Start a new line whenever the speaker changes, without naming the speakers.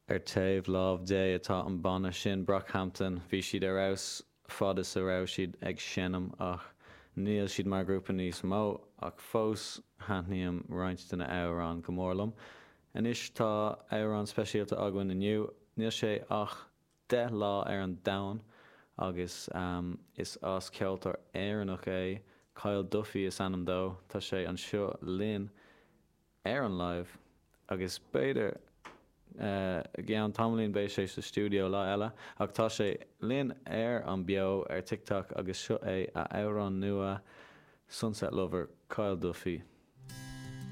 Ar taobh lámh Dé atá an banna sin, Brockhampton. Bhí siad ar fheabhas fad is a raibh siad ag seinm ach níl siad mar ghrúpa níos mó ach fós thaitníonn roinnt de na amhráin go mór liom. Anois tá amhrán speisialta againn inniu. Níl sé ach 10 lá ar an domhan agus is as ceoltóir Éireannach é, Kyle Duffy is ainm dó. Tá sé anseo linn. ar an live agus b'fhéidir i gceann tamaillín beidh sé sa stiúideo lá eile ach tá sé linn ar an beo ar TikTok agus seo é a amhrán nua Sunset Lover, Kyle Duffy.